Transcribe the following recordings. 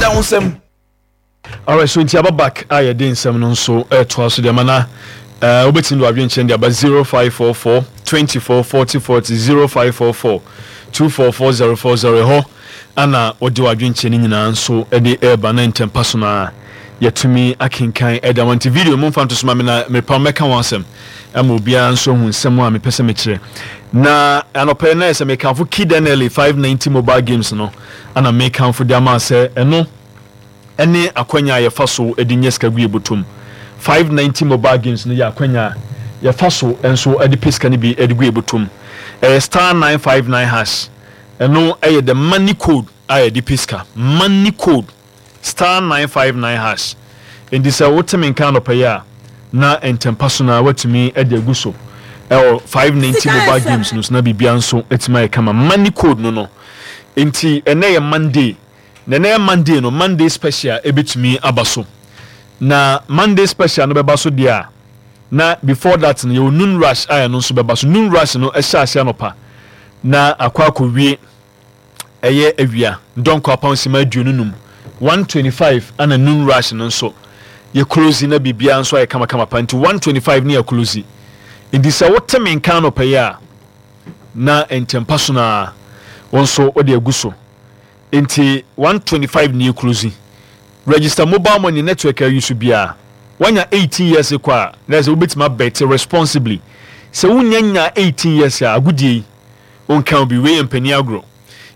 Ɛda wo nsam. Alright, so nti aba back a yɛde nsɛm no nso ɛtoa so deɛ ma na wobɛtumi de wadwenkyerɛ de aba 0544 24 40 40, 0544 244040. Ɛhɔ ana wode wadwenkyerɛ no nyinaa nso de ɛreba na ntɛmpa so no a yɛtumi akenkan ɛde ama. Nti video momfa nto so ma me na merepa mɛka ho asɛm ama obiara nso ahu nsɛm a mepɛ sɛ mekyerɛ. Na anɔpɛ na ɛsɛ mekamfo Kid NLA 590 mobile games no, ana mekamfo de ama sɛ ɛno ne akwanya a yɛfa so de nya sika gu yɛn bɔtɔ mu. 590 mobile games no yɛ akwanya a yɛfa so nso de pɛ sika no bi de gu yɛn bɔtɔ mu. Ɛyɛ *959#. Ɛno yɛ the money code a yɛde pɛ sika. Money code, *959#. Enti sɛ wote me nka anɔpa yi a, na ntɛmpa so no ara woatumi de agu so wɔ 590 mobile games no so na biribiara nso atumi ayɛ kama. Money code no no. Enti ɛnnɛ yɛ Monday. Na ɛnɛ Monday no, Monday special ɛbɛtumi aba so. Na Monday special no bɛba so deɛ a, na before that no yɛwɔ noon rush a ɛno nso bɛba so. Noon rush no ɛhyɛ ase anɔpa na akɔ akɔwie ɛyɛ awia dɔnkɔ apam sima 25, 1:25 ana noon rush no nso yɛ close na biribiara nso ayɛ kamakama pa. Nti 1:25 ne yɛ close. Nti sɛ wote me nka anɔpa yi a, na ntɛmpa so no ara wo nso wode agu so. Nti 1:25 nie close. Register mobile money network a use biara. Wanya 18 years kɔ a, na ɛsɛ wobɛtumi abɛte responsibly. Sɛ wonya nya 18 years a, agodie yi wonka obi, wei yɛ mpanin agorɔ.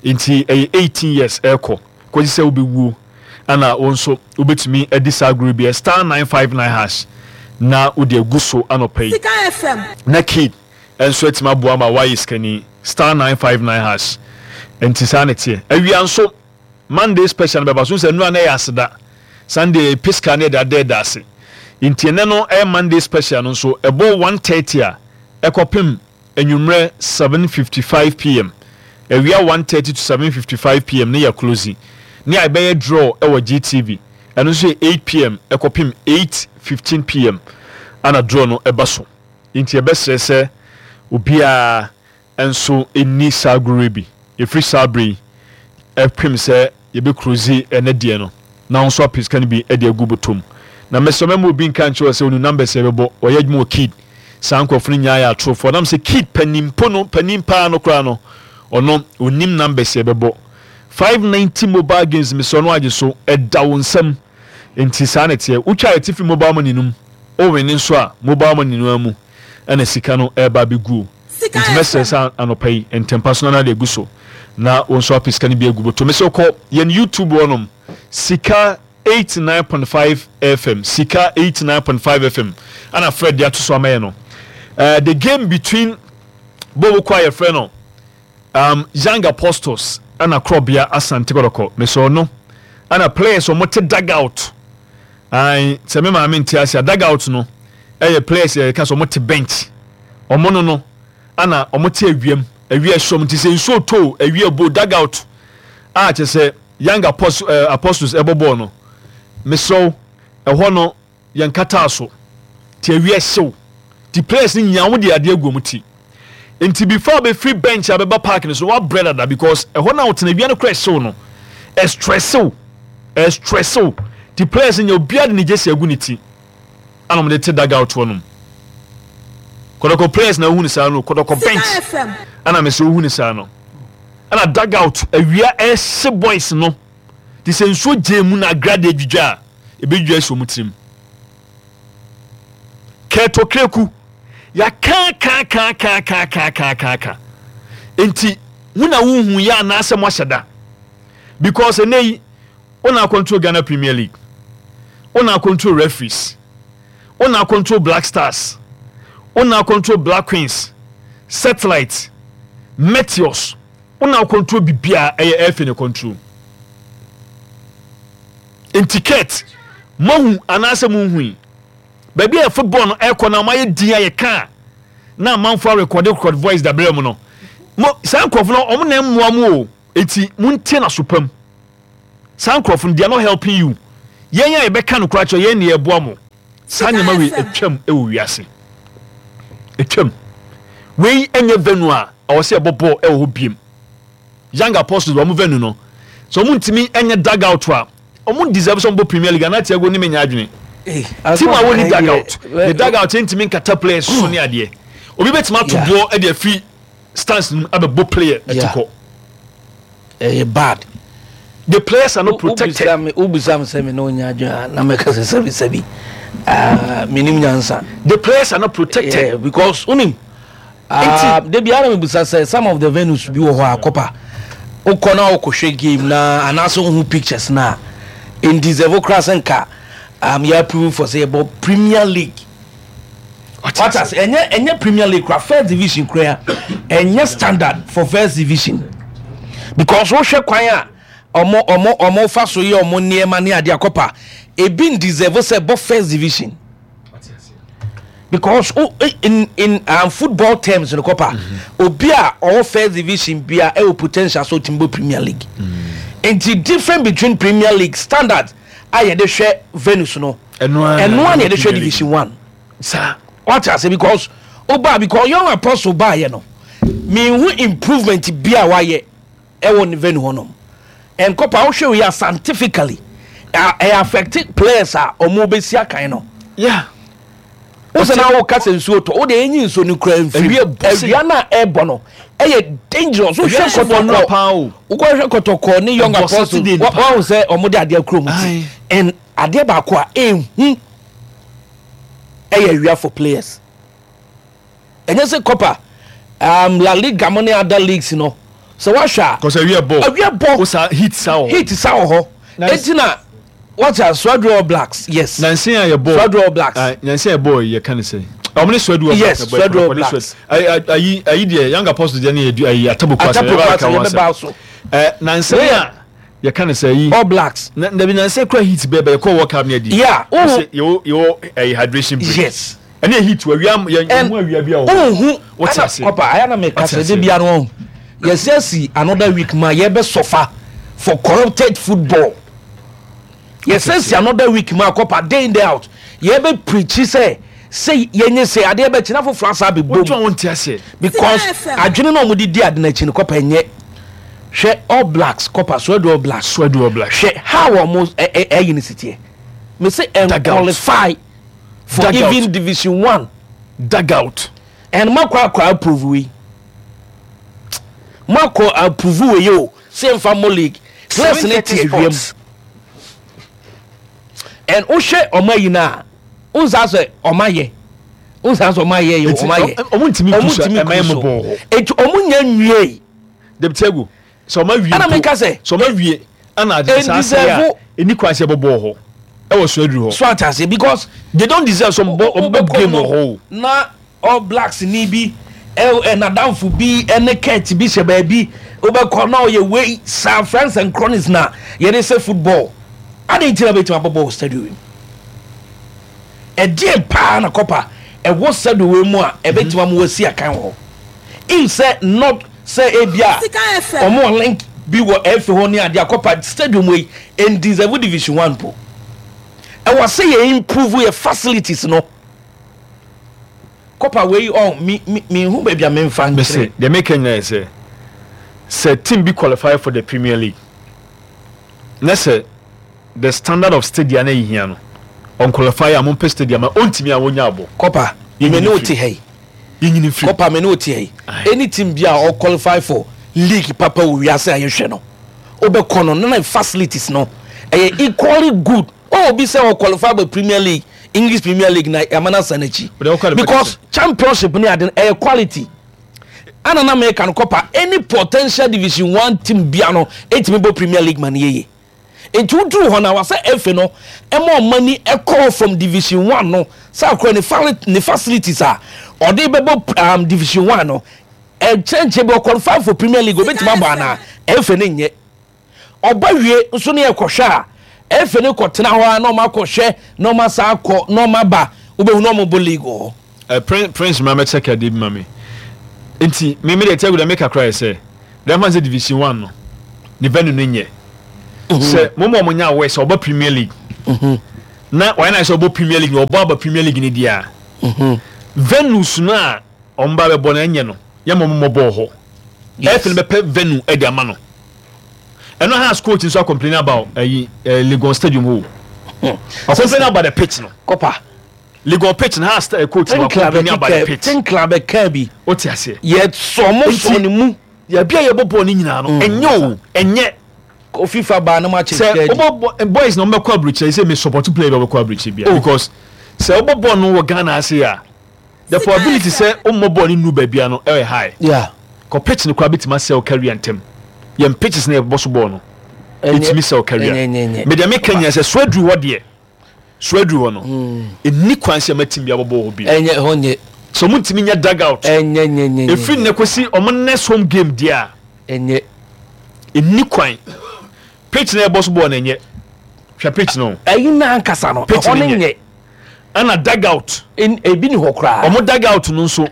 Nti ɛyɛ 18 years ɛkɔ kɔsi sɛ wobɛwuo ana wo nso wobɛtumi adi saa agorɔ bi. *959# na wode agu so anɔpa yi. Sika FM. Na kid nso atumi aboa ma woayɛ sikani. *959#. Nti saa na ɛteɛ. Awia nso Monday special no bɛba so. Sɛ nnura na ɛyɛ aseda, Sunday yɛpɛ sika na yɛde ada ɛda ase. Nti ɛnɛ no ɛyɛ Monday special no nso ɛbɔ 1:30 a ɛkɔpem anwummerɛ 7:55 p.m. Awia 1:30 to 7:55 p.m. ne yɛ close ne a ɛbɛyɛ draw ɛwɔ GTV. Ɛno nso yɛ 8 p.m. ɛkɔpem 8:15 p.m. ana draw no ɛba so. Nti yɛbɛsrɛ sɛ obiara nso nni saa agorɔ yi bi ɛfiri saa berɛ yi ɛpem sɛ yɛbɛkurozi ɛnɛ deɛ no, na wo nso apɛ sika no bi de agu bɔtɔ mu. Na mesrɛ mɛma obi nka nkyerɛ wo sɛ ɔnim numbers a yɛbɛbɔ. Ɔyɛ adwuma wɔ Kid. Saa nkurɔfo no nyinaa yɛ atorofoɔ. Nam sɛ Kid panin mpo no, panin paa no koraa no, ɔno ɔnim numbers a yɛbɛbɔ. 590 mobile games, mesrɛ no agye so, ɛda wo nsam. Nti saa na ɛteɛ. Wotwa atifi mobile money no mu, wowene nso a, mobile money no ara mu ɛna sika no ɛreba abɛguo. Sika Nti mɛsrɛ FM. sɛ anɔpa yi ntɛmpa so na na de agu so na wo nso apɛ sika no bi agu bɔtɔ. Mesrɛ kɔ yɛn YouTube hɔnom, Sika 89.5 FM, Sika 89.5 FM ana Fred de ato so ama yɛn no. The game between Boboko a yɛfrɛ no Young Apostles ana Korɔbea Asante Kɔtɔkɔ. Mesrɛ ɔno ana players wɔn te dugout. Ae, sɛ me maame nte ase a, dugout no ɛyɛ players yɛ ka sɛ wɔn te bench. Wɔn no ana wɔn te awiam, awia ɛhyɛ wɔn nti sɛ nsuo tɔ, awia bo, dugout a kyerɛ sɛ Young Apostles ɛbɔ bɔɔl no. Mesrɛ ɛhɔ no yɛn kataa so ti awia hyew ti players no nyinaa wɔn de adeɛ agu wɔn ti. Nti before abɛfiri bench abɛba park no so wabrɛ dada because ɛhɔ na ɔtena awia no kora ɛhyew no, ɛstrɛsew ɛstrɛsew. Ti players no nyɛ obiara de ne jersey agu ne ti ana wɔn de te dugout hɔ nom. Kɔtɔkɔ players na ohun saa no, Kɔtɔkɔ Sika bench FM. ana mɛ sɛ ohun saa no, ɛna dugout awia ɛhye boys no te sɛ nsuo gye mu na agrade adwidwa a ebedwidwa esi wɔn tirim. Kɛɛtɔ kreku yɛaka ka ka ka ka ka ka ka ka nti wo na wohu yɛ anaasɛ mo ahyɛ da, because ɛnɛ yi wo na control Ghana Premier League, wo na control referees, wo na control Black Stars, wo na control Black Queens, satellite, meteors, wo na control biribiara. Ɛyɛ ɛfɛ ne control. Nti Kurt, moahu anaasɛ monhui baabi a football no ɛkɔ na ɔmayɛ din a yɛka a na amanfoɔ arekɔde record voice dabrɛ mu no mo. Saa nkurɔfo no ɔmo na mmoa mu o. Eti montie na so pam saa nkurɔfo no, they are not helping you. Yɛn a yɛbɛka no koraa kyerɛ yɛn ne yɛboa mo. Saa Sika nneɛma wei FM. atwam ɛwɔ wiase, atwam. Wei ɛnyɛ venue a ɛwɔ sɛ yɛbɔ bɔɔl ɛwɔ hɔ biem. Young Apostles wɔn venue no, sɛ wɔn ntumi ɛnyɛ dugout a Ɔmo deserve sɛ ɔmo bɔ Premier League anaa Thiago ne me nyɛ adwene. Team a wɔnni dugout, ne dugout ntumi nkata players so ne adeɛ. Obi bɛtumi ato boɔ de afiri stands no mu abɛbɔ player atikɔ. Ɛyɛ bad. The players are not protected. Wobisa me sɛ me ne wonya adwene a na mɛka sɛ sɛbi sɛbi menim nyansa. The players are not protected. Yeah, because wonim Ah, da biara na mebisa sɛ some of the venues bi wɔ hɔ a kɔpa wokɔ na wokɔhwɛ game na anaasɛ wohu pictures no a ɛndeserve koraa sɛ nka um, yɛ approve for sɛ yɛbɔ Premier League. Wata sɛ ɛnyɛ ɛnyɛ Premier League koraa, first division koraa ɛnyɛ standard for first division because wohwɛ kwan a ɔmo ɔmo ɔmo fa so yɛ ɔmo nneɛma ne adeɛ akɔpa ebi ndeserve sɛ bɔ first division. Because oh, eh, in football terms no kɔpa mm-hmm. obi a ɔwɔ first division bia ɛwɔ potential so ɔtumi bɔ Premier League mm. Nti different between Premier League standard a yɛde hwɛ venus no ɛno a na yɛde hwɛ division one saa wate ase because ɔbaa because Young Apostle baayɛ no mehu improvement bi a wayɛ ɛwɔ ne venue hɔ nom. Nkɔpa wohwɛ wei a scientifically ɛyɛ affect players a ɔmo bɛsi akan no. Yeah. Wosɛ na woka sɛ nsuo tɔ wode ɛnyi nsuo no kura mfiri awia no a ɛbɔ no ɛyɛ dangerous. Wohwɛ kɔtɔkɔ wokɔhwɛ kɔtɔkɔ ne Young Apostle wahu sɛ ɔmo de adeɛ kuro mu ti and adeɛ baako a ɛnhu ɛyɛ awia for players. Ɛnyɛ sɛ Copa, La Liga mo ne other leagues no, sɛ woahwɛ a. Cause awia bɔ. Awia bɔ. O sa heat sa wɔ hɔ. Heat sa wɔ hɔ. Eti na wɔte a Swedru All Blacks yes. Nansi a yɛ bɔ. Swedru All Blacks. Nansi a yɛ bɔ yɛ ka ne sɛ. Ɔmo ne Swedru All Blacks. Yes, Swedru All Blacks. Ayi ayi deɛ Young Apostles deɛ ne yɛ ayi Ataboku asɛ. Ataboku asɛ yɛ bɛ ba so. Nansi a yɛ ka ne sɛ ayi. All Blacks. Na dabi nansi kura heat bɛɛ bɛ yɛ kɔ World Cup ne adi. Yeah. Yɛ wɔ yɛ wɔ ɛyi hydration break. Yes. Ɛne heat awia yɛn And hu awia bi a wɔ hɔ. Wonhu Wote ɛna ase. kɔpa ayɛ na meka Wote sɛ ase. de bia no ɔho yɛsi asi another week ma yɛbɛ suffer for corrupted football. Yɛsi asi another week ma kɔpa day in day out yɛbɛ preachi sɛ sɛ yɛnyɛ sɛ adeɛ bɛkyi na foforɔ asa abɛbom. Wotwa wɔn ti ase. Because adwene na wɔde di ade n'akyi no kɔpa nyɛ hwɛ All Blacks kɔpa Swadu All Blacks. Swadu All Blacks. Hwɛ how wɔn ɛyi ne si teɛ. Me se ɛnqualify. For Dugout. even division one. Dugout. And makɔ akɔ approve wei. Makɔ approve wei o. Sɛ nfa mo league. Players ne te awia mu. And wohwɛ ɔmo ayi na nsa sɛ ɔmo ayɛ. Nsa sɛ ɔmo ayɛ yɛ ɔmo ayɛ. Ɔmo ntumi kusu ɛmɛ mo bɔ hɔ. Eti ɔmo nya nwie. Debiti egu. Sɛ ɔmo awie mpo, sɛ ɔmo awie ɛna ade saa asɛe a, ɛni kwan sɛ yɛbɔ bɔɔl hɔ ɛwɔ so aduru hɔ. So ate aseɛ because. They don't deserve sɛ ɔmo bɔ ɔmo bɔ game wɔ hɔ o. Na All Blacks ni bi ɛ ɛ n'adamfo bi ɛne Kurt bi hyɛ baabi wobɛkɔ na ɔyɛ wei saa friends and cronies na yɛde sɛ football adɛn nti na bɛtumi abɔ bɔɔl stadium yi mu ɛdeɛn paa na kɔpa ɛwɔ stadium wei mu a ɛbɛtumi ama wasi akan wɔ hɔ if sɛ not Sɛ ebia wɔn wɔ link bi wɔ FA hɔ ne adeɛ a, kɔpa stadium wei ɛndeserve division one mpo. Ɛwɔ sɛ yɛ improve yɛ facilities no. Kɔpa wei ɔn me me menhu baabi a memfa nkyerɛ. Mese deɛ meka nyinaa yɛ sɛ, sɛ team bi qualify for the Premier League na sɛ the standard of stadia na ɛhia no, ɔnqualify a mompɛ stadium a ɔntumi a wɔnya abɔ. Kɔpa me ne wo te ha yi. Yɛnyini mfiri. Kɔpa me ne wo te ha yi. Any team bi a ɔ qualify for league papa wɔ wiase a yɛhwɛ no, wobɛkɔ no na ne facilities no ɛyɛ equally good. Oh, obi sɛ ɔ qualify bɔ Premier League, English Premier League na yɛama no asan n'akyi. Because championship ne ade no ɛyɛ quality. Ana na meka no kɔpa any potential division one team bia no ɛtumi bɔ Premier League ma no yɛye. Nti woduru hɔ no a wasɛ FA no ma ɔmo ani kɔ from division one no sɛ akora ne fa ne facilities a ɔde bɛbɔ division one no ɛnkyɛnkyɛn bi ɔqualify for Premier League obetumi abɔ anaa FA no nyɛ ɔba wie nso ne yɛkɔhwɛ a FA no kɔtena hɔ a na ɔmo akɔhwɛ na ɔmo asa akɔ na ɔmo aba wobɛhu na ɔmo bɔ league wɔ hɔ. Prince Prince ma mɛkyɛ ka de bi ma me nti me me deɛ tiago deɛ meka koraa yɛ sɛ deɛ mfa sɛ division one no ne venue no nyɛ mhm. sɛ mo ma ɔmo nya awɛ sɛ ɔbɔ Premier League mhm. na wɔyɛ na sɛ ɔbɔ Premier League na ɔbɔ aba Premier League ne deɛ a mhm. venues no a ɔmo ba bɛbɔ no ɛnyɛ no yɛ ma ɔmo mmɔ bɔɔl hɔ ɛfɛ no bɛpɛ venue ɛde ama no. Ɛno Hearts coach nso a complain about ɛyi eh, Legon Stadium hɔ o. Ɔ complain about the pitch no. Kɔpa. Legon pitch no Hearts eh, coach no complain about the pitch. Tinkler bɛka bi. O te aseɛ. Yɛ sɔ mo sɔ ne mu. Yɛbi a yɛbɔ bɔɔl no nyinaa no ɛnyɛ o ɛnyɛ. Fifa baa no ma kyɛ sɛ wobɔ boys na wɔbɛkɔ aburokyire sɛ me support player bi a wɔbɛkɔ aburokyire bia because sɛ wobɔ bɔɔl no wɔ Ghana ase a the probability sɛ wommɔ bɔɔl no nnu baabi a no ɛyɛ high. Yeah. Kɔ pitch no koraa bɛtumi asɛ wo career ntɛm. Yɛn pitches na yɛbɔ so bɔɔl no ɛtumi sɛ wo career. Me deɛ meka nyina sɛ so aduru hɔ deɛ so aduru hɔ no ɛnni kwan sɛ ɛma team bi abɔbɔ hɔ bio. Ɛnyɛ hɔ nyɛ. Sɛ ɔmo ntumi nyɛ dugout. Ɛnyɛ nyɛ nyɛ. Ɛfiri nnɛ kɔsi ɔmo next home game deɛ a. Ɛnyɛ. Ɛnni kwan. Pitch na yɛbɔ so bɔɔl no ɛnyɛ. Hwɛ pitch no. Ɛyi na ankasa no. Pitch no nyɛ. Ɛna dugout. Ebi ni hɔ koraa. Ɔmo dugout no nso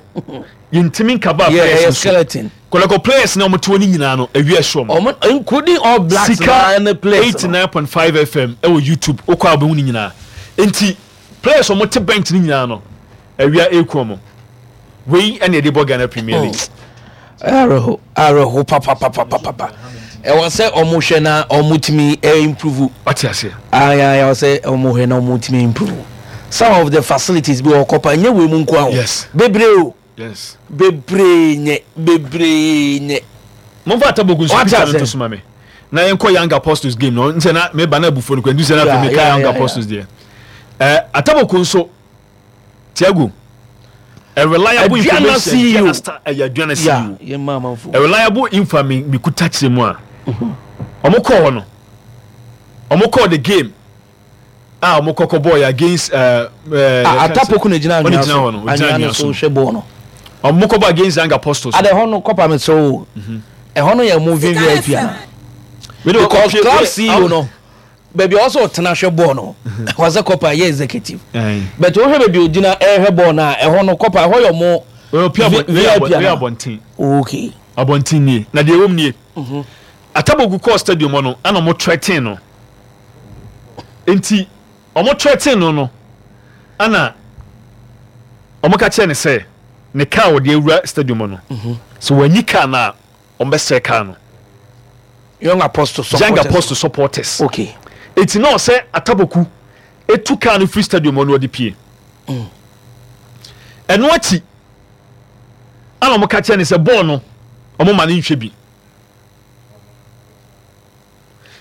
yɛntumi nkaba players nso. Skeleton. Kɔlɔkɔ players na ɔmo te hɔ no nyinaa no awia ɛhyɛ ɔmo. Ɔmo including all blacks Sika na ne players no. 89.5 FM ɛwɔ YouTube wokɔ a wobɛhu ne nyinaa. Nti players ɔmo te bench no nyinaa no awia ɛreku ɔmo. Wei ɛna yɛde bɔ Ghana Premier League. Awerɛho awerɛho papapapapapa. Ɛwɔ sɛ ɔmo hwɛ na ɔmo tumi improve. Wate aseɛ. Ayi ɛwɔ sɛ ɔmo hwɛ na ɔmo tumi improve. Some of the facilities bi wɔ kɔpa nyɛ wei mu nko ara o. Yes. Bebree o. Yes. Bebree nyɛ bebree nyɛ. Momfa Atabogu nso Wate picture no aseɛ. nto so ma me. Na yɛnkɔ Young Apostles game no. Nsɛ na meba na abufuo no kɔ nti sɛ na afei Yeah, meka yeah, Young yeah, Apostles deɛ. Eh, Ataboku nso Tiago a reliable Aduana information CEO. Aduana star ɛyɛ Aduana Yeah, CEO. yɛn mma amanfo. A reliable info a me mekuta kyerɛ mu a ɔmo kɔɔ hɔ no ɔmo kɔɔ the game a ɔmo kɔkɔ bɔɔ yɛ against ɛɛ ɛɛ Ah, Atapoku na gyina ɔne anwea gyina so. hɔ no ɔgyina Anwea no anwea so so hwɛ bɔɔl no. ɔmo kɔbɔ against Young Apostles Ada ɛhɔ no kɔpa me sɛ o. Ɛhɔ no yɛ mo VVIP ana? Wei de Because ɔpie- club wei- CEO no baabi a ɔsɛ ɔtena hwɛ bɔɔl no ɛhɔ sɛ kɔpa yɛ executive. But wohwɛ baabi ogyina ɛhwɛ bɔɔl no a ɛhɔ no kɔpa ɛhɔ yɛ ɔmo VIP ana? Abɔnten. Okay. Abɔnten nie na deɛ ɛwɔ mu nie. Atabogu kɔɔ stadium hɔ no ɛna ɔmo threaten no nti ɔmo threaten no no ɛna ɔmo ka kyerɛ ne sɛ ne car wɔde awura stadium hɔ no sɛ wɔanyi car no a ɔmo bɛsɛe car no. Young Apostle supporters. Young Apostle supporters. Okay. Eti na ɔsɛ Ataboku etu car no firi stadium hɔ no ɔde pie. Ɛno akyi ɛna ɔmo ka kyerɛ ne sɛ bɔɔl no ɔmo ma ne nhwɛ bi.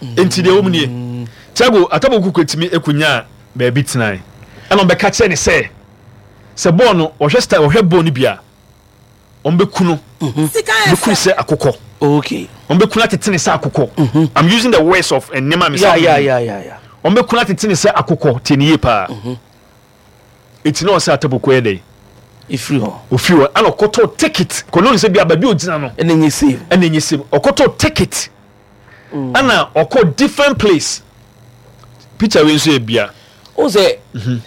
Nti deɛ wɔm nie Tiago Ataboku kɔtumi ɛkɔnyaa baabi tenae ɛna ɔbɛka kyerɛ ne sɛ sɛ bɔɔl no ɔhwɛ style ɔhwɛ bɔɔl no bi a ɔmbɛku no bɛku no sɛ akokɔ Okay. ɔmbɛku no atete ne sɛ akokɔ. I'm using the words of nneɛma a Yeah, yeah, yeah, yeah, yeah. ɔmbɛku no atete ne sɛ akokɔ. Tie ne yie paa. Ɛti na ɔsɛ Ataboku yɛ dɛn? Efiri hɔ. Ofiri hɔ ɛna ɔkɔtɔ ticket kɔnɔ ne sɛ bi a baabi a ogyina no Ɛna nye save. Ɛna enye save. Ɔkɔtɔ ticket ɛna ɔkɔ different place. Picture wei nso yɛ bia. O sɛ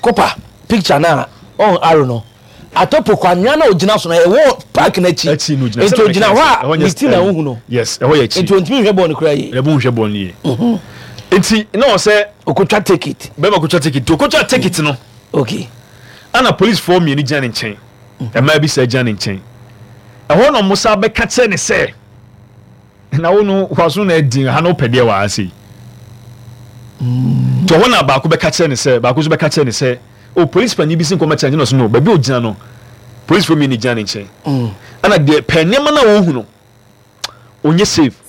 kɔpa picture na ɔn aro no Atapoku anwea na ogyina so no ɛwɔ park n'akyi. Akyi no ogyina. Nti ogyina hɔ a ne ti na ohu no. Yes, ɛhɔ yɛ akyi. Nti ontumi nhwɛ bɔɔl no koraa yie. Ɛbɛn nhwɛ bɔɔl no yie. Nti na ɔsɛ okotwa ticket. Bɛrima kotwa ticket nti okotwa ticket no. Okay. Ɛna policefoɔ mmienu gyina ne nkyɛn. Mmaa bi sɛ gyina ne nkyɛn. Ɛhɔ na ɔmo sa bɛka kyerɛ ne sɛ na wo no waso na adi ha na wopɛ deɛ wɔ ha sei. Nti ɔhɔ na baako bɛka kyerɛ ne sɛ baako nso bɛka kyerɛ ne sɛ o polisi panin bi si nkɔmɔ kyerɛ ne na ɔso no baabi a ogyina no polisifoɔ mmienu gyina ne nkyɛn. Ɛna deɛ pɛ nneɛma no a wɔhu no ɔnyɛ safe.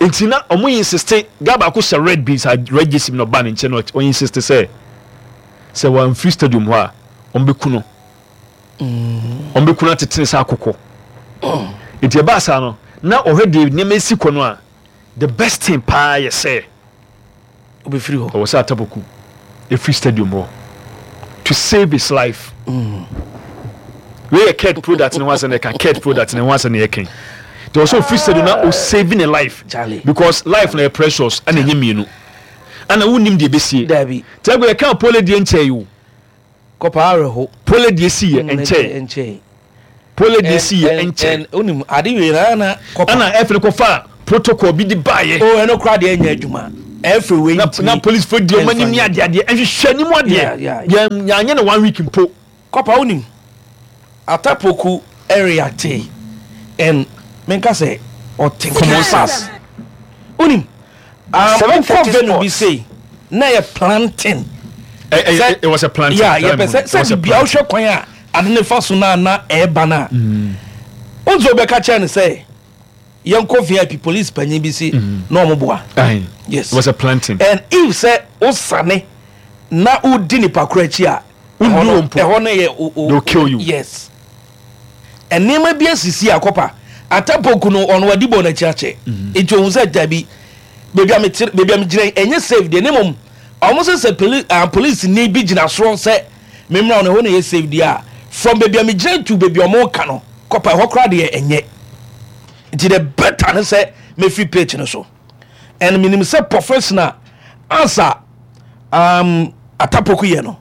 Nti na ɔmo insist guy baako hyɛ red bi sa red jersey bi na ɔba ne nkyɛn na ɔ insist sɛ sɛ wɔamfiri stadium hɔ a ɔmo bɛku no. Ɔmo bɛku no atetene sɛ akokɔ. Nti ɛbaa saa no na ɔhwɛ deɛ nneɛma esi kɔ no a the best thing paa yɛ sɛ Obɛfiri hɔ. Ɔwɔ sɛ Ataboku efiri stadium hɔ to save his life. Wei yɛ Ked product ne ho asɛm na ɛka Ked product ne ho asɛm na yɛka. Nti ɔwɔ sɛ ofiri stadium na o save ne life. Charlie. Because life na yɛ precious ɛna ɛnyɛ mmienu. Ɛna wonnim deɛ ɛbɛsie. Dabi. Tiago yɛka Pole deɛ nkyɛe o. Kɔpa awerɛho. Pole deɛ si yɛ nkyɛe. Nkyɛe. Pole deɛ si yɛ nkyɛe. Onim ade wei na na kɔpa. Ɛna ɛfiri kɔfa protocol bi de baayɛ. O ɛno koraa deɛ ɛnyɛ adwuma. Ɛfiri wei ntumi. Na police fo di ɔmo anim ne adeɛ adeɛ ɛnhwehwɛ anim adeɛ. Yɛn yɛanyɛ no one week mpo. Kɔpa wonim Atapoku ɛreacte and menka sɛ ɔte Common sense. Wonim, wokɔ venue bi sei na yɛ planting. It was a planting. Yeah, yɛpɛ sɛ sɛ bibia wohwɛ kwan a ade ne fa so no a na ɛreba no a, wonso wobɛka kyerɛ no sɛ yɛnkɔ VIP, police panyin bi si na ɔmo boa. Yes. It was a planting. And if sɛ wosane na wodi nipa koro akyi a, ɛhɔ no yɛ they will kill you. Yes. Nneɛma bi asisi a kɔpa atapoku no ɔno wadi bɔ n'akyi akyɛ. Nti ohun sɛ dabi, baabi a mete, baabi a megyina yi ɛnyɛ safe deɛ, ne mmom ɔmo sɛ sɛ poli ah, police ni bi gyina soro sɛ memmra no ɛhɔ na ɛyɛ safe deɛ a, from baabi a megyina to baabi a ɔmo ka no kɔpa ɛhɔ koraa deɛ ɛnyɛ. Nti the better ne sɛ mefiri pitch no so. And menim sɛ professional ansa atapoku yɛ no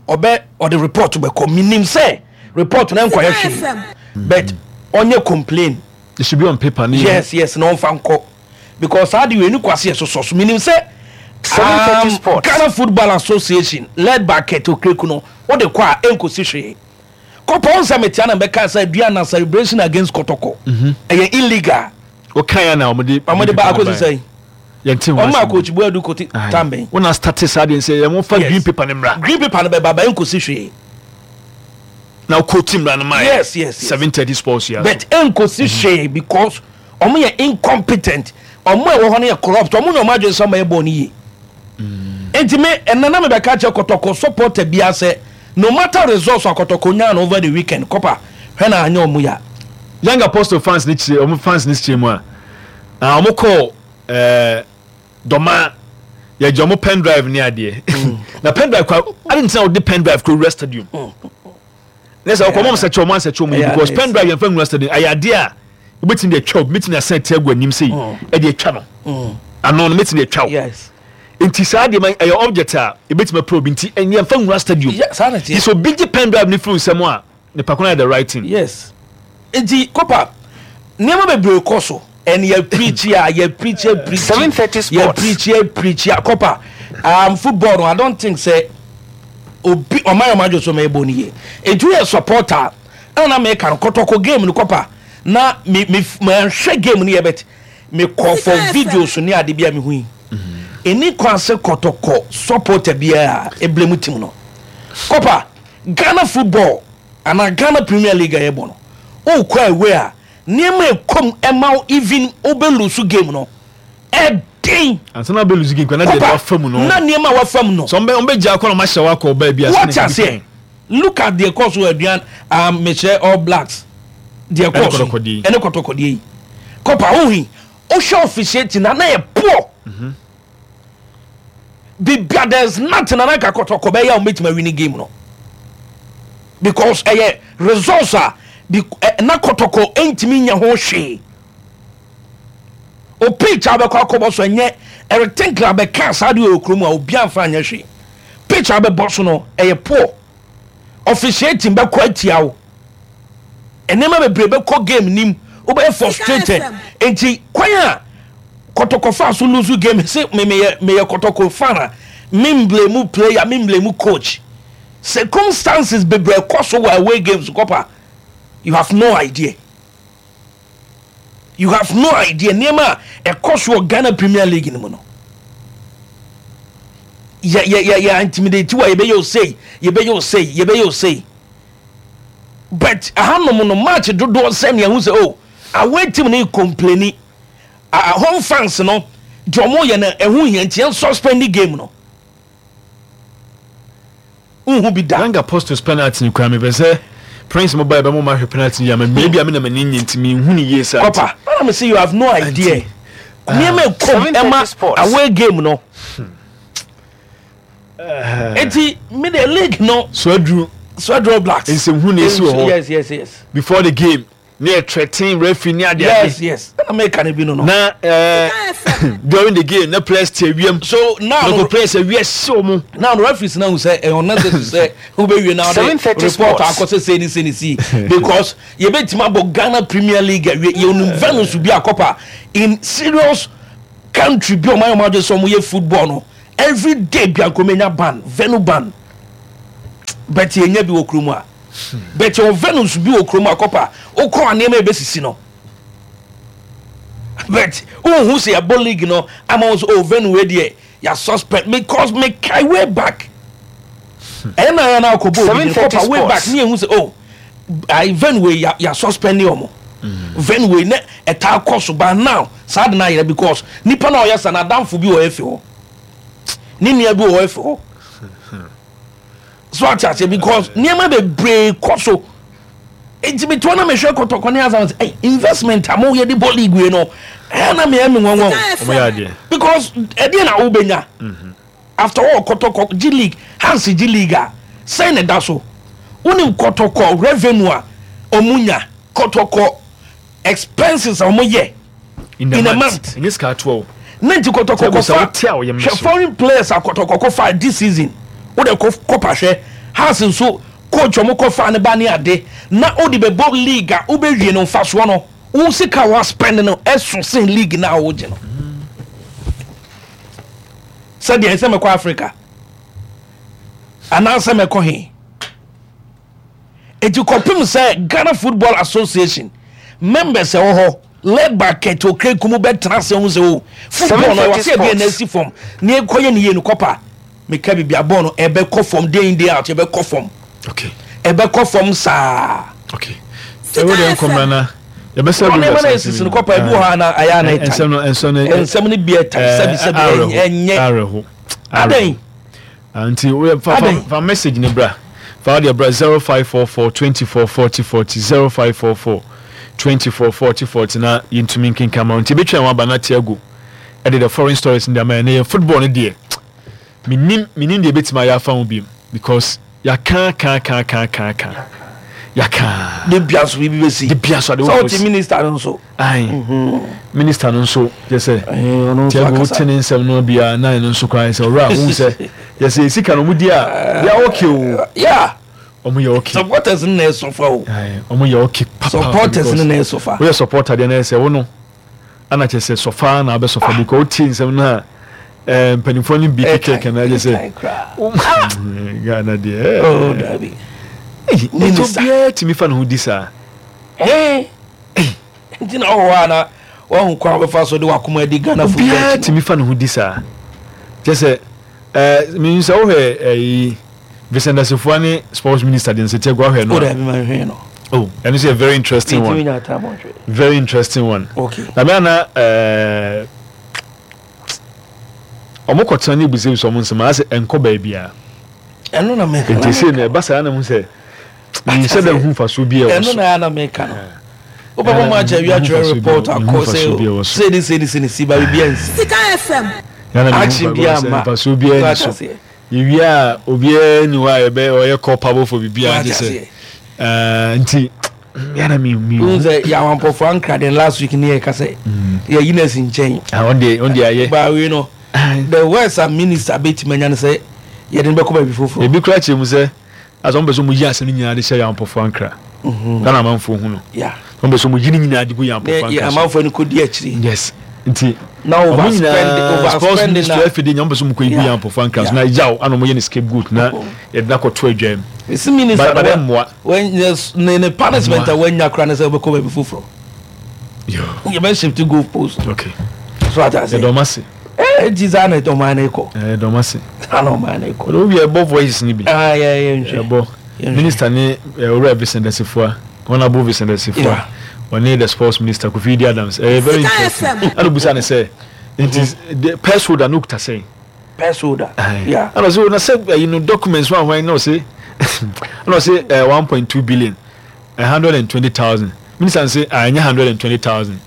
ɔbɛ ɔde report bɛkɔ. Menim sɛ report na nkɔyɛ hwee, but ɔnyɛ complain. It should be on paper. Yes, na ɔmfa nkɔ, because saa de wei ne kwase yɛ sosɔ so. Menim sɛ Ghana Football Association led by Kurt Okraku no wode kɔ a ɛnkɔsi hwee. Kɔpɔ nsɛ metia na bɛka sɛ Aduana celebration against Kɔtɔkɔ ɛyɛ illegal. Wokae na ɔmode ɔmode ba akɔsi sɛn? Yɛnte ho asɛm. Ɔma coach Boadu kote tambɛn. Wona start saa deɛ sɛ yɛn fa green paper no mmra. Green paper no bɛba ba ɛnkɔsi hwee. Na wokɔ team mmra no ma yɛ. Yes. 7:30 sports yɛ. But ɛnkɔsi hwee because ɔmo yɛ incompetent. Ɔmo a ɛwɔ hɔ no yɛ corrupt. Ɔmo nyɛ ɔmo adwene sɛ ɔmo yɛ bɔɔl no yie. Nti me ɛnna na mebɛka kyerɛ Kɔtɔkɔ supporter biara sɛ no matter results a Kɔtɔkɔ nyaa no over the weekend, kɔpa hwɛ na anyɛ ɔmo ya. Young Apostle fans ne kyerɛ ɔmo fans ne kyerɛ mu a, ɔmo kɔ Dɔma yɛgye ɔmo pen drive ne adeɛ. Na pen drive kwa adi ntina ɔde pen drive kɔ wura stadium. Ne sɛ ɔkɔ ɔmo sɛ kyɛ ɔmo ansɛ kyɛ ɔmo yi because pen drive yɛn fɛ nwura stadium ɛyɛ adeɛ a wobɛtumi de atwa obi, mɛtumi asan ti agu anim sei ɛde atwa no ano no, mɛtumi de atwa wo. Nti saa deɛ ma ɛyɛ object a ɛbɛtumi apira obi, nti yɛmfa nwura stadium. Nti sɛ obi gye pen drive no firi nsɛm a, nipa ko no ayɛ the right thing. Yes, nti Kopa nneɛma bebree kɔ so and yɛ preach a yɛ preach a preach yɛ preach a preach a Kopa football no, I don't think sɛ obi ɔman yɛ ɔman adwo so ma ɛbɔ no yie. Nti woyɛ supporter ɛna na meka no Kɔtɔkɔ game no Kɔpa na me me manhwɛ game no yɛ, but me kɔ for videos ne ade bi a mehu yi, ɛni kwan sɛ Kɔtɔkɔ supporter biara ɛblame team no. Kɔpa Ghana football anaa Ghana Premier League a yɛbɔ no, wokɔ away a nneɛma ɛkɔm ɛma wo, even wobɛ lose game no ɛden. Ansa na wobɛ lose game kora na deɛ wafa mu no na nneɛma a wafa mu no sɛ ɔmbɛ gya akɔ na ɔmahyɛ wakɔ ɔbaa bi ase. Wɔte aseɛ? Look at deɛ kɔɔ so wɔ Aduan, mekyerɛ All Blacks deɛ kɔɔ so ɛne Kɔtɔkɔdeɛ yi. Kɔpa wohi wohwɛ officiating na na yɛ poor. Bibia, there is nothing na nanka Kɔtɔkɔ bɛyɛ a wɔbɛtumi awini game no, because ɛyɛ results a na Kɔtɔkɔ ntumi nya ho hwee. O pitch a wobɛkɔ akɔbɔ so ɛnyɛ Eric Tinkler bɛka saa deɛ wɔ kurom a obi amfa anyɛ hwee. Pitch a wobɛbɔ so no ɛyɛ poor, officiating bɛkɔ atia wo, nneɛma bebree bɛkɔ game nim, wobɛyɛ frustrated. Nti kwan a Kɔtɔkɔ fa so lose game se me meyɛ meyɛ Kɔtɔkɔ fan a, me mblame player, me mblame coach. Circumstances bebree kɔ so wɔ away games kɔpa, you have no idea. You have no idea nneɛma a ɛkɔ so wɔ Ghana Premier League no mu no. Yɛ yɛ yɛ yɛ intimidate wa, yɛbɛyɛ osei, yɛbɛyɛ osei, yɛbɛyɛ osei. But ahanom no match dodoɔ sɛ nea ɛho sɛ oh away team no complaini, home fans no deɛ ɔmo yɛ no ɛho hia nti yɛn suspend game no. Nhu bi da. Young Apostles penalty no koraa mepɛ sɛ Prince mo ba yɛ bɛ mo ma hwɛ penalty no yie ama me, ebi a me na m'ani nye nti me nhu no yie saa nti. Kɔpa, ɛna me se you have no idea. Nneɛma ɛkɔm ɛma away game no. Eti me de league no. So aduru. So aduru Blacks. Nsɛmhu na esi wɔ hɔ. Yes. Before the game. Ne yɛ threaten referee ne ade ade. Yes, ɛna meka ne bi no. Na during the game na players te awia So now no players awia si wɔn. Now no referees na sɛ ɛyɛ unnecessary sɛ wobɛwie na ɔde report akɔ sɛ sei ne sei ne sei, because yɛbɛtumi abɔ Ghana Premier League awie, yɛnim venues bi akɔpa in serious country bi ɔman ɔman adwe sɛ ɔmo yɛ football no every day bi ankomenya ban, venue ban, but yɛnya bi wɔ kurom a. But yɛwɔ venues bi wɔ kurom a kɔpa wokɔ a nneɛma ɛbɛsisi no. But wohu sɛ yɛbɔ league no ama wo sɛ, oh, venue wei deɛ yɛ suspend, because mekae way back ɛyɛ na yɛ na akɔbɔ obi no 7:30 kɔpa way back Sports. ne yɛhu sɛ, oh, ayi, venue wei yɛ suspend ɔmo venue wei ne ɛtaa kɔ so. But now saa de na ayerɛ because nipa na ɔyɛ sa na adamfo bi wɔ efi hɔ, ne nua bi wɔ efi hɔ so ate aseɛ, because nneɛma bebree kɔ so. Nti mi toɔ na mi hwɛ Kɔtɔkɔ ne Asan sɛ, ɛy, investment a mo yɛ de bɔ league wei no, ɛyɛ na mi yɛ mi nwanwa o. Ɔmo yɛ adeɛ. Because ɛdeɛ na wobɛnya after all, Kɔtɔkɔ gye league, Hearts gye league a, sɛn na ɛda so? Wonim Kɔtɔkɔ revenue a ɔmo nya, Kɔtɔkɔ expenses a ɔmo yɛ in a in a month. Month. Ɛnyɛ sika atoa o. Ne nti Kɔtɔkɔ Sɛ kɔfa wote a woyɛ hwɛ me so. foreign players a Kɔtɔkɔ kɔfa this season, wode kɔpa hwɛ Hearts nso coach ɔmo kɔfa ne ba ne ade na wode bɛbɔ league a wobɛwie no, mfasoɔ no, wo sika wa spend no ɛso sen league na a wogye no. Sɛdeɛ ɛsɛ mɛkɔ Africa anaasɛ mɛkɔ he. Eti kɔpem sɛ Ghana Football Association members ɛwɔ hɔ led by Kurt Okraku mu bɛtena ase ho sɛ, o, football no ɛwɔ sɛ ɛdeɛ na asi fam ne ɛkɔyɛ ne yie no, kɔpa meka biribi a bɔɔl no ɛbɛkɔ fam day in, day out, ɛbɛkɔ fam. Ɛbɛkɔ fam saa. Okay, ɛwɔ deɛ nkɔmra na yɛbɛsɛ. Ɔno nneɛma na esisi no, kɔpa ebi wɔ hɔ a na ayɛ ana ɛtan. Nsɛm no, nsɛm no. Nsɛm no bi ɛtan, sɛbi sɛbi, ɛnyɛ awerɛho. Adan. Nti woyɛ fa fa message ne bra, fa wodeɛ bra 0544 24 40 40, 0544 24 40 40, na yɛntumi nkenka ma wo. Nti ɛbɛtwa ho aba na Tiago ɛde the foreign stories no de ama yɛn. Na yɛn football no deɛ, menim deɛ ɛbɛtumi ayɛ afa ho biom, because yɛaka ka ka ka ka ka, yɛaka. De bia so biribi bɛsi. De bia so ade sɛ wɔ wote minister no nso. Ayi, minister no nso yɛ sɛ ɔno nso Tiago akasa. Wote ne nsɛm no bia na ɛno nso koraa sɛ ɔwura wohu sɛ yɛsɛ sika no ɔmo di a yɛ okay o. Ɔmo yɛ okay. Supporters no na ɛsɔfa o. Ayi, ɔmo yɛ okay papa. Supporters no na ɛsɔfa. Woyɛ supporter deɛ na yɛ sɛ wo no ana kyerɛ sɛ sɔfa na abɛsɔfa bi kɔ wotie nsɛm no a mpanimfoɔ no bi kekeke na ɛgye sɛ Ghana deɛ Oh, dabi. Ɛyi, Minister. obiara tumi fa ne ho di saa. Nti na ɔwɔ hɔ a na wahu kwan a wɔbɛfa so de wakoma adi Ghana football obiara akyi no. Tumi fa ne ho di saa kyɛ sɛ mehu sɛ wohwɛ ɛyi Vincent Asifua ne sports minister de nsɛtiɛ gu ahwɛ no O a dabi, ma nhwɛ no. Oh, ɛno nso yɛ very interesting Ntumi one. nya time ɔhwɛ. Very interesting one. Na me ana ɔmo kɔtena ne ebusabisa ɔmo nsɛm asɛ ɛnkɔ baabiara. Ɛno na meka. Nti sei na ɛba saa na mu sɛ nhyɛ dɛ hu mfasoɔ bi a ɛwɔ ɛno so. Na ɛna meka no, wobɛbɔ mu akyɛ awia twerɛ report akɔ sɛ sei ne sei ne sei ne si ba biribi ansi. Sika FM. Yana mehu Action fa bi ama. mfasoɔ biara ni Wate so. aseɛ. Yɛwie a obiara ni hɔ a yɛbɛ ɔyɛ culpable for biribiara Wate gye sɛ aseɛ. nti yana mi mi Wohu sɛ yɛawampɔfoɔ ankra den last week ne yɛka sɛ yɛyi no asi nkyɛn. Ah, ɔn deɛ ayɛ. Baawie no, the worst a minister bɛtumi anya no sɛ yɛde no bɛkɔ baabi foforɔ. Ebi kura kyerɛ mu sɛ asɛ wɔn pɛ sɛ wɔn yi asɛm no nyinaa de hyɛ yɛn ampɔfoɔ ankra Ghana amanfoɔ hu no. Wɔn pɛ sɛ wɔn yi ne nyinaa de gu yɛn ne ampɔfoɔ yɛ ankra so. amanfoɔ no kɔdi akyiri. Yes, nti na wɔn overspend nyinaa sports overspending ministry na afidie nyɛ wɔn pɛ sɛ wɔn kɔ yi gu yɛn ampɔfoɔ ankra so na yaw ana wɔn yɛ ne scapegoat na yɛde no akɔto adwa mu. Esi minister But no ɛmmoa. ne punishment a wanya kora ne sɛ wobɛkɔ baabi foforɔ. Yo. Yɛbɛ shift goal post. So ate ase. Yɛdɔm ase. Nti saa na ɔman no kɔ. Yɛdɔm ase. Saa na ɔman no kɔ. Ɔde obi ɛbɔ voice ni bi. Ah, yɛ nhwɛ. Ɛbɔ Yɛnhwɛ. minister ne owura Vincent Asifua, Honourable Vincent Asifua, ɔne the sports minister Kofi Idi Adams. Ɛyɛ very Sika interesting. FM. Ɛna obusa ne sɛ nti the purse holder no kuta sɛn? Purse holder. Ɛna ɔsɛ na sɛ ɛyi no documents wɔn ahwan na ɔsɛ ɛna ɔsɛ 1.2 billion, 120,000. Minister n sɛ ah, ɛnyɛ 120,000.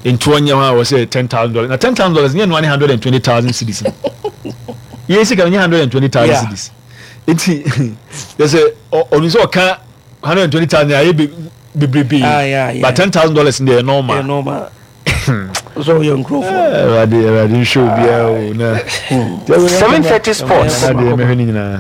Nti ɔnyɛ hɔ a wɔsɛ $10,000 na $10,000 nyɛ noa ne 120,000 cedis no yɛ sika no nyɛ 120,000 cedis. Nti yɛ sɛ ɔno sɛ ɔka 120,000 ayɛ bebrebe, but $10,000 deɛ yɛ normal. Yɛ normal. So yɛ nkurɔfoɔ. Awurade, Awurade nhwɛ obiara o na 7:30 Sports. Na deɛ mɛhwɛ ne nyinaa.